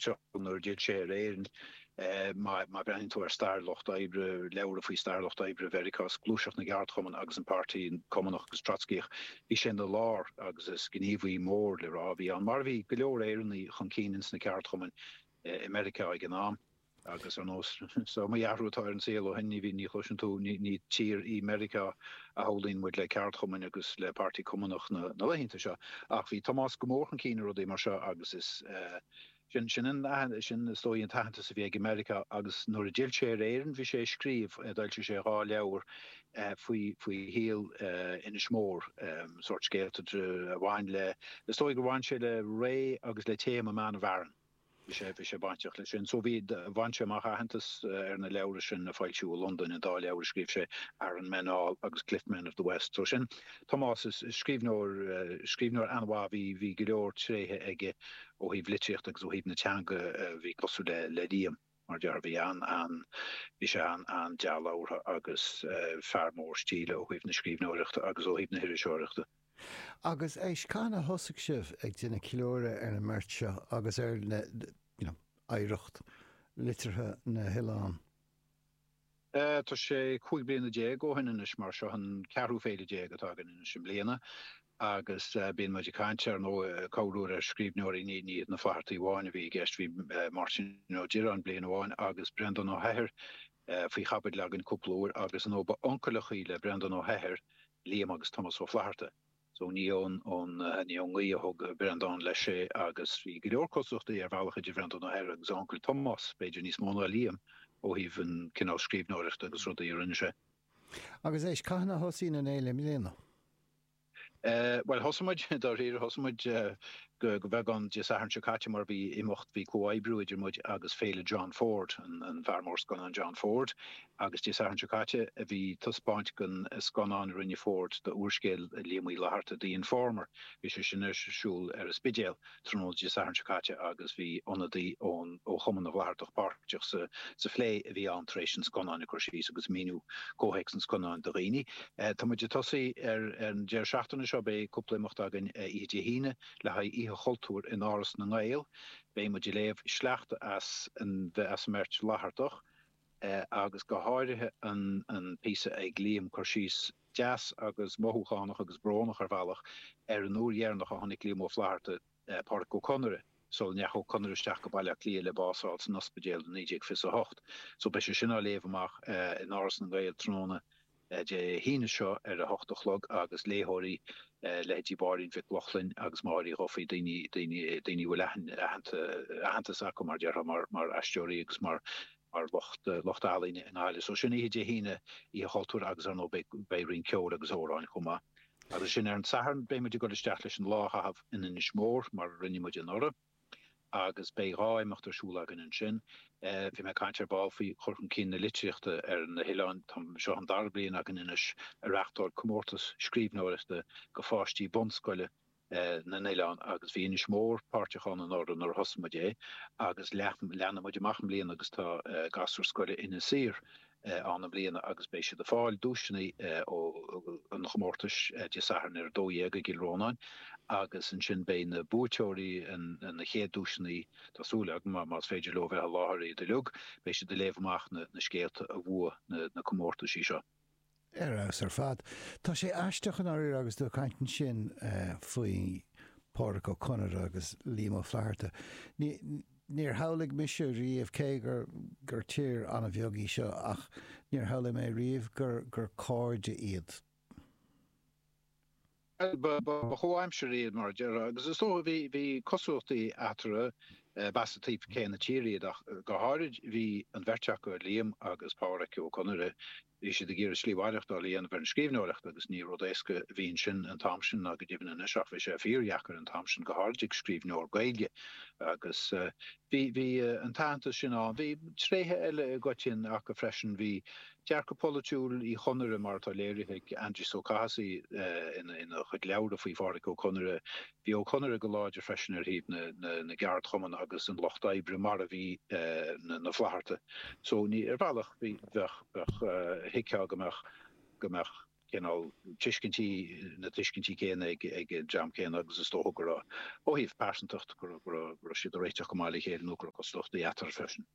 páirteach nuair a d'fhill sé ar Éirinn. Má bhreathnaíonn tú ar stair lucht oibre, leabhra faoi stair lucht oibre Mheiriceá, is gluaiseacht na gceardchumann agus an Páirtí Cumannach agus Trotscaíoch, bhí sé ina lár agus is gníomhaí mór le rá a bhí ann, mar a bhí go leor Éireannaigh chun cinn ins na ceardchumainn i Meiriceá ag an am. Agus ar nós, is iomaí athrú atá ar an saol ó shin, ní bhíonn, ní chloiseann tú, ní tír í Meiriceá a shamhlaíonn muid le ceardchumainn agus le Páirtí Cumannach na laethanta seo. Ach bhí Tomás go mór chun cinn i rudaí mar seo agus is sin, sin an, sin is dóigh an t-aitheantas a bhí aige i Meiriceá agus nuair a d'fhill sé ar Éirinn bhí sé ag scríobh, d'fhoilsigh sé 2 leabhar faoi, faoi shaol Inis Mór, sórt scéalta a bhain le, is dóigh gur bhain sé le ré agus le téama Man of Aran. Bhí sé, bhí sé bainteach leis sin. So bhí, bhain sé amach aitheantas ar na leabhra sin a foilsíodh i Londain, an dá leabhar a scríobh sé, Aran Men All agus Cliff Men of the West. So sin Tomás, is, is scríbhneoir, scríbhneoir an-mhaith, bhí, bhí go leor tréithe aige ó thaobh litríochta agus ó thaobh na teanga a bhí cosúil le, le Liam, mar a déarfá. Bhí an, an, bhí sé an, an-dea-labhartha agus fear mór stíle ó thaobh na scríbhneoireachta agus ó thaobh na hiriseoireachta. Agus éist, cathain a thosaigh sibh ag déanamh ceiliúradh ar an mbeirt seo agus ar na, you know, oidhreacht liteartha na n-oileán? Tá sé 15 bliana ó shin anois mar seo an ceathrú féile déag atá againn anois i mbliana agus bíonn muid ag caint ar ndóigh corruair ar scríbhneoirí, ní ní hiad na Flaitheartaigh amháin a bhí i gceist, bhí Máirtín Ó Direáin bliain amháin agus Breandán Ó hEithir faoi chaibidil againn cúpla uair agus ar ndóigh ba uncaileachaí le Breandán Ó hEithir Liam agus Tomás Ó Flaithearta. So ní ón, ón, ní ón ngaoth a thug Breandán leis é agus bhí go leor cosúlachtaí ar bhealach idir Bhreandán Ó hEithir agus a uncail Tomás, b'fhéidir níos mó ná Liam, ó thaobh an cineál scríbhneoireachta agus rudaí a rinne sé. Agus éist, cathain a thosaíonn an fhéile i mbliana? Bhuel, thosaigh muid, dáiríre, thosaigh muid go beagán Dé Sathairn seo caite mar bhí imeacht, bhí comhoibriú idir muid agus Féile John Ford, an fear mór scannán John Ford, agus Dé Sathairn seo caite bhí taispeáint den scannán a rinne Ford d'úrscéal Liam Uí Fhlaithearta, The Informer. Bhí sé sin ar siúl ar an Spidéal. Tráthnóna Dé Sathairn seo caite agus bhí ionadaí ón ó Chumann na bhFlaitheartach páirteach sa sa phlé a bhí ann tar éis an scannáin ag cur síos agus míniú comhthéacs an scannáin do dhaoine. Tá muid ag tosaí ar an deireadh seachtaine seo, beidh cúpla imeacht againn oíche Dé hAoine le haghaidh Oíche Chultúir in Áras na nGael. Beidh muid ag léamh sleachta as an as an mbeirt Fhlaitheartach agus go háirithe an an píosa ag Liam cur síos deas agus mothúchánach agus brónach ar bhealach ar an uair dheireanach a chonaic Liam Ó Flaithearta Pádraic Ó Conaire sula ndeachaigh Ó Conaire isteach go Baile Átha Cliath le bás a fháil san ospidéal i 1928. So beidh sé sin á léamh amach in Áras na nGael tráthnóna Dé hAoine seo ar a hocht a chlog agus léitheoirí, leithéidí Mháirín Mhic Lochlainn agus Máire Uí Dhufaigh, daoine, daoine, daoine a bhfuil aitheantas acu mar déarfá mar, mar aisteoirí agus mar, mar lucht, lucht ealaíne i nGaillimh. So sin oíche Dé hAoine, Oíche Chultúir agus ar ndóigh beidh, beidh roinnt ceoil agus amhráin chomh maith. Agus sin ar an Satharn, beidh muid ag dul isteach leis an lá a chaitheamh in Inis Mór mar a rinne muid anuraidh agus beidh 2 imeacht ar siúl againn ansin. Bhí mé ag caint ar ball faoi chur chun cinn na litríochta ar na hoileáin. Tá, seo an dara bliain againn anois ag reachtáil comórtas scríbhneoireachta go pháistí bunscoile na n-oileán agus bhí Inis Mór páirteach ann anuraidh nuair a thosaigh muid é agus leathnaigh muid amach i mbliana agus tá gasúir scoile Inis Oírr ann i mbliana agus beidh siad ag fáil duaiseanna ó an chomórtais Dé Sathairn ar 12 i gCill Rónáin agus ansin beidh na buaiteoirí na chéad duaiseanna, tá súil agam, más féidir leo bheith i láthair iad uilig, beidh siad ag léamh amach na scéalta a bhuaigh na comórtaisí seo. Ar fheabhas ar fad. Tá sé aisteach i ndáiríre agus tú ag caint ansin faoi Phádraic Ó Conaire agus Liam Ó Flaithearta. Níor shamhlaigh mise riamh, cé gur gur tír an-bheag í seo, ach níor shamhlaigh mé riamh gur gur cairde iad. Bhuel, ba chomhaimseartha iad, mar a déarfá, agus is dócha bhí bhí cosúlachtaí eatarthu, b'as an taobh céanna tíre iad ach go háirid bhí an bheirt acu, Liam agus Pádhraic Ó Conaire, bhí siad ag iarraidh slí mhaireachtáil a dhéanamh ar an scríbhneoireacht agus ní rud éasca a bhí ansin an t-am sin ná go deimhin anois ach bhí sé fíordheacair an t-am sin, go háirid ag scríbhneoir Gaeilge agus bhí bhí an t-aitheantas sin ann. Bhí tréithe eile i gcoitinn acu freisin, bhí dearcadh polaitiúil Uí Chonaire mar atá léirithe ag Aindrias Ó Cathasaigh ina chuid leabhra faoi Phádraic Ó Conaire, Bhí Ó Conaire go láidir freisin ar thaobh na gceardchumann agus an lucht oibre mar a bhí na Flaithearta. So ní, ar bhealach bhí, bheadh, bheadh, thuigfeá go mbeadh, go mbeadh. cineál tuiscintí, na tuiscintí céanna ag an dream céanna agus is dócha go raibh, ó thaobh pearsantacht, go raibh siad ag réiteach go maith le chéile nó go raibh cosúlachtaí eatarthu freisin.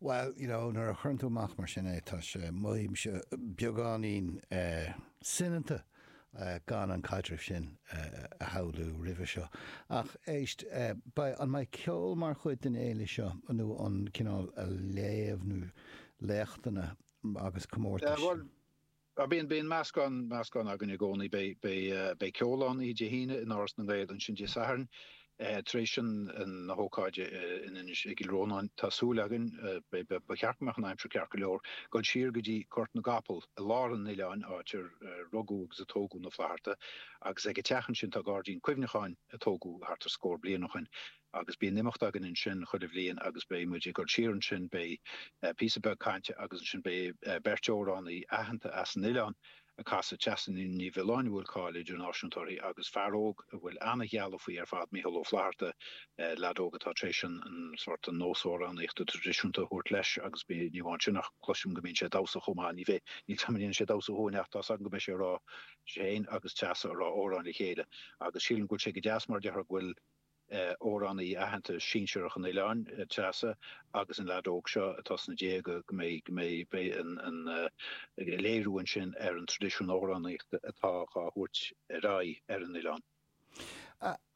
Bhuel, you know, nuair a chuireann tú amach mar sin é, tá sé, mothaímse beagáinín soineanta gan an caidreamh sin a shamhlú roimhe seo. Ach éist, beidh, an mbeidh ceol mar chuid den fhéile seo nó an cineál léamh nó léachtanna agus comórtais? Bhuel, bíonn, bíonn meascán, meascán againn i gcónaí. Beidh, beidh, beidh ceol ann oíche Dé hAoine in Áras na nGael, ansin Dé Sathairn, tar éis an, na hócáide in Inis, i gCill Rónáin, tá súil againn, beidh, ba cheart go mbeadh an aimsir ceart go leor, dul siar go dtí Gort na gCapall i lár an oileáin, áit ar rugadh agus a tógadh na Flathartaigh, agus ag an teach ansin tá gairdín cuimhneacháin a tógadh thart ar scór bliain ó shin. Agus bíonn imeacht againn ansin chuile bhliain agus beidh muid ag dul siar ansin, beidh píosa beag cainte agus ansin beidh beirt amhránaí aitheanta as an oileán ag casadh, Treasa Ní Mhiolláin a bhfuil cáil idirnáisiúnta uirthi agus fear óg a bhfuil ana-ghealladh faoi ar fad, Mícheál Ó Flatharta, leaid óg atá tar éis an sórt an nós amhránaíochta traidisiúnta a thabhairt leis agus ní amháin sin ach cloisim go mbíonn sé ag damhsa chomh maith, ní bheidh, níl 's agam an ndéanfaidh sé damhsa chugainn ach tá's agam go mbeidh sé ag rá, sé féin agus Treasa ag rá amhráin le chéile agus sílim go bhfuil sé go deas mar a déarfá go bhfuil amhránaí aitheanta sinsearach an oileáin, Treasa, agus an leaid óg seo atá sna déaga, go mbeidh, go mbeidh, beidh an, an léiriú ansin ar an traidisiún amhránaíochta atá á thabhairt ar aghaidh ar an oileán.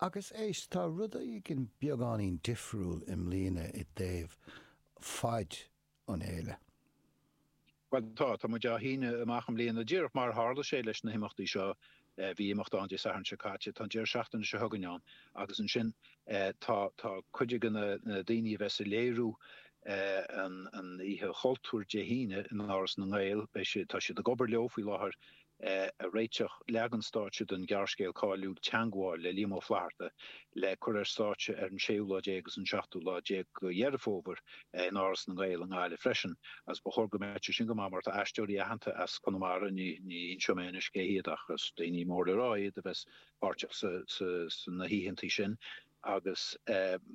Agus éist, tá rud éigin beagáinín difriúil i mbliana i dtaobh faid an fhéile. Bhuel, tá. Tá muid á shíneadh amach i mbliana. Díreach mar a tharla sé leis na himeachtaí seo, bhí imeacht ann Dé Sathairn seo caite, tá an deireadh seachtaine seo chugainn ann agus ansin tá tá cuid de na daoine a bheas ag léiriú an an Oíche Chultúir Dé hAoine in Áras na nGael, beidh siad, tá siad ag obair leo faoi láthair ag réiteach leagan stáitse den ghearrscéal cáiliúil Teangmháil le Liam Ó Flaithearta le cur ar stáitse ar an séú lá déag agus an seachtú lá déag de Dheireadh Fómhair in Áras na nGael i nGaillimh freisin agus ba chóir go mbeadh sé sin go maith mar tá aisteoirí aitheanta as Conamara, ní inseoidh mé anois cé hiad ach is daoine mór le rá iad a bheas páirteach sna hoícheantaí sin agus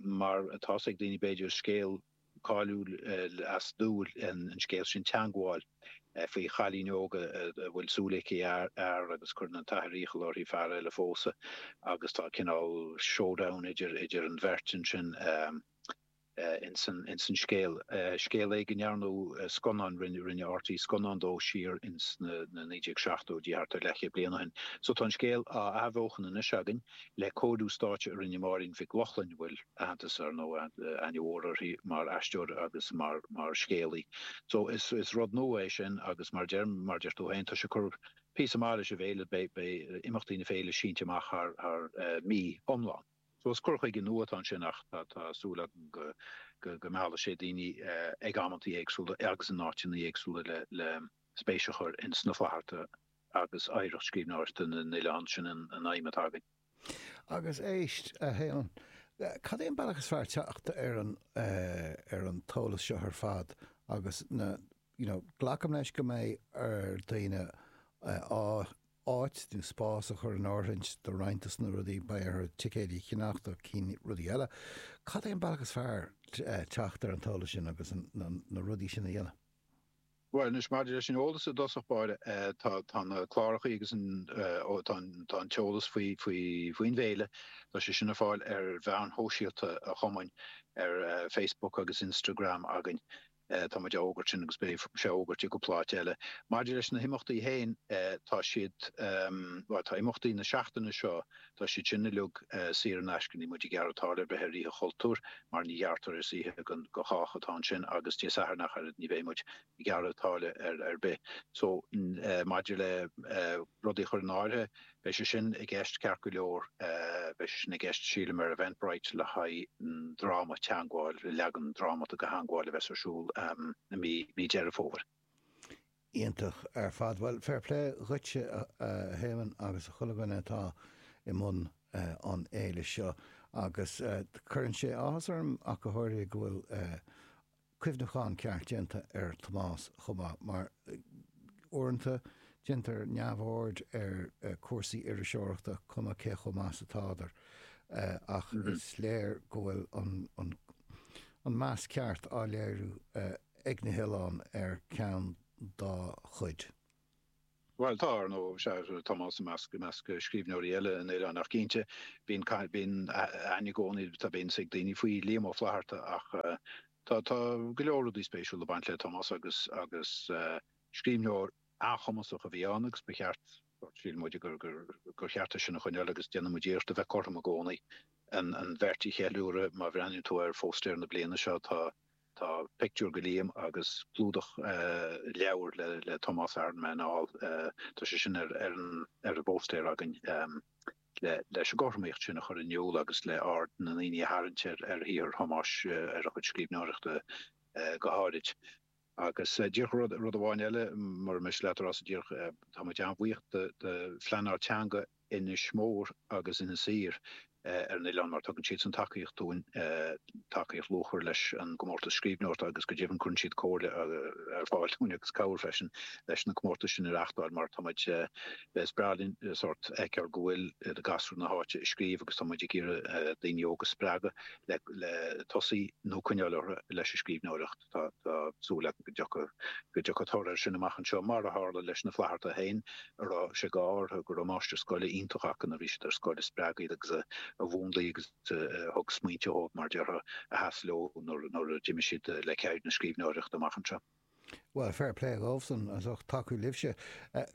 mar atá 's ag daoine b'fhéidir is scéal cáiliúil as Dúill an scéal sin Teangmháil faoi chailín óg a bhfuil súil aici ar fhear agus cuireann an t-athair iachall uirthi fear eile a phósadh agus tá cineál showdown idir idir an bheirt ansin ins an ins an scéal. Scéal é go ndearnadh scannán, rinne rinne RTÉ scannán dó siar ins na 1970idí thart ar leathchéad bliain ó shin. So tá an scéal á athbheochan anois againn le cóiriú stáitse a rinne Máirín Mhic Lochlainn a bhfuil aitheantas, ar ndóigh, aithne mhór uirthi mar aisteoir agus mar scéalaí. So is is rud nua é sin agus mar deir mar deir tú féin, tá sé ag cur píosa maith leis an bhféile, beidh beidh imeachtaí na féile sínte amach thar thar mí iomlán. So is cur chuige nua atá ansin ach tá tá súil agam go go go meallfaidh sé daoine ag amantaí éagsúla agus in áiteanna éagsúla le le spéis a chur ins na Flathartaigh agus oidhreacht scríbhneoireachta na n-oileán, sin an aidhm atá againn. Agus éist, a Shéamuis, cad é an bealach is fearr teacht ar an, ar an t-eolas seo ar fad agus na, you know, glacaim leis go mbeidh ar daoine áit nó spás a chur in áirithint do roinnt dos na rudaí, beidh orthu ticéidí a cheannach do cinn rudaí eile. Cad é an bealach is fearr teacht ar an t-eolas sin agus na rudaí sin a dhéanamh? Bhuel, anois, maidir leis an eolas i dtosach báire, tá, tá na clárachaí agus an, ó, tá an, tá an t-eolas faoi, faoi, faoin bhféile, tá sé sin ar fáil ar mheáin shóisialta an chumainn, ar Facebook agus Instagram againn. Tá muid á fhógairt sin agus beidh sé á fhógairt i gcúpla áit eile. Maidir leis na himeachtaí féin, tá siad, bhuel, tá imeachtaí na seachtaine seo, Tá siad sin uilig saor in aisce, níl muid ag gearradh táille ar bith ar Oíche Chultúir mar ní ghearrtar, is oíche do chách atá ansin agus Dé Sathairn ach oiread ní bheidh muid ag gearradh táille ar ar bith. So maidir le rudaí a chur in áirithe, beidh sé sin i gceist ceart go leor, beidh sé sin i gceist sílim ar Eventbrite le haghaidh an dráma Teangmháil, leagan drámata de Theangmháil a bheas ar siúl i mí Deireadh Fómhair. Iontach ar fad. Bhuel, fair play dhuitse a Shéamuis agus a chuile dhuine atá i mbun an fhéile seo agus cuireann sé áthas orm ach go háirithe go bhfuil cuimhneachán ceart déanta ar Thomás chomh maith mar uaireanta déantar neamhaird ar cúrsaí iriseoireachta cuma cé chomh maith is atádar ach is léir go bhfuil an meas ceart á léiriú ag na hoileáin ar ceann dá chuid. Bhuel, tá, ar ndóigh, sea, Tomás i measc, i measc scríbhneoirí eile an oileáin ach cinnte, bíonn, bíonn aithne i gcónaí, tá, bíonn a fhios ag daoine faoi Liam Ó Flaithearta ach tá, tá go leor rudaí spéisiúla ag baint le Tomás agus, agus scríbhneoir an-chumasach a bhí ann agus ba cheart, síleann muid gur, gur, gur cheart é sin a choinneáil agus déanann muid iarracht a bheith cothrom i gcónaí an, an bheirt a cheiliúradh. Má bhreathnaíonn tú ar phóstaer na bliana seo tá, Tá pictiúr de Liam agus clúdach leabhair le Tomás Iron Man All. Tá sé sin ar an bpóstaer againn leis an gcothromaíocht sin a chur in iúl agus le aird na ndaoine a tharraingt ar shaothar Thomáis, ar a chuid scríbhneoireachta go háirid. Agus díreach rud amháin eile, mura miste leat a Rossa, díreach tá muid an-bhuíoch do phleanáil teanga Inis Mór agus Inis Oírr ar an oileán mar tugann siadsan tacaíocht dúinn, tacaíocht luachmhar leis an gcomórtas scríbhneoireachta agus go deimhin cuireann siad comhairle ar fáil dúinn agus cabhair freisin leis na comórtais sin a reáchtáil mar tá muid, is breá linn sórt fheiceáil go bhfuil gasúir na háite ag scríobh agus tá muid ag iarraidh daoine óga a spreagadh le tosaí nó coinneáil orthu leis an scríbhneoireacht. Tá súil agam go dtiocfaidh go dtiocfaidh toradh air sin amach anseo, mar a tharla leis na Flathartaigh féin, a raibh sé go orthu go raibh máistir scoile iontach acu nuair a bhí siad ar scoil a spreag iad agus a mhúnlaigh agus a thug smaointe dóibh, mar a déarfá, a sheas leo nuair a d'imigh siad le ceird na scríbhneoireachta amach anseo. Bhuel, fair play dhóibhsan as ucht tacú libhse.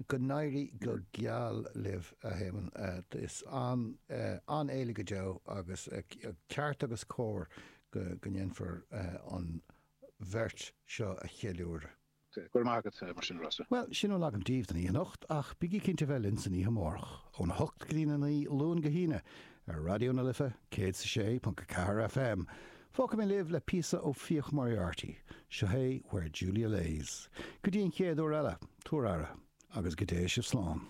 Go n-éirí go geal libh, a Shéamoin. Is an-fhéile go deo agus ceart agus cóir go ndéanfar an bheirt seo a cheiliúradh. Go raibh maith agat mar sin, a Rossa. Bhuel, sin a bhfuil agam daoibh don oíche anocht, ach bígí cinnte bheith linn san oíche amárach, óna hocht go dtína naoi, Luan go hAoine, ar Raidió na Life 106.4 FM. Fágfaidh mé libh le píosa ó Fiach Moriarty. Seo é Where Julia Lays. Go dtí an chéad uair eile, tabhair aire, agus go dté sibh slán.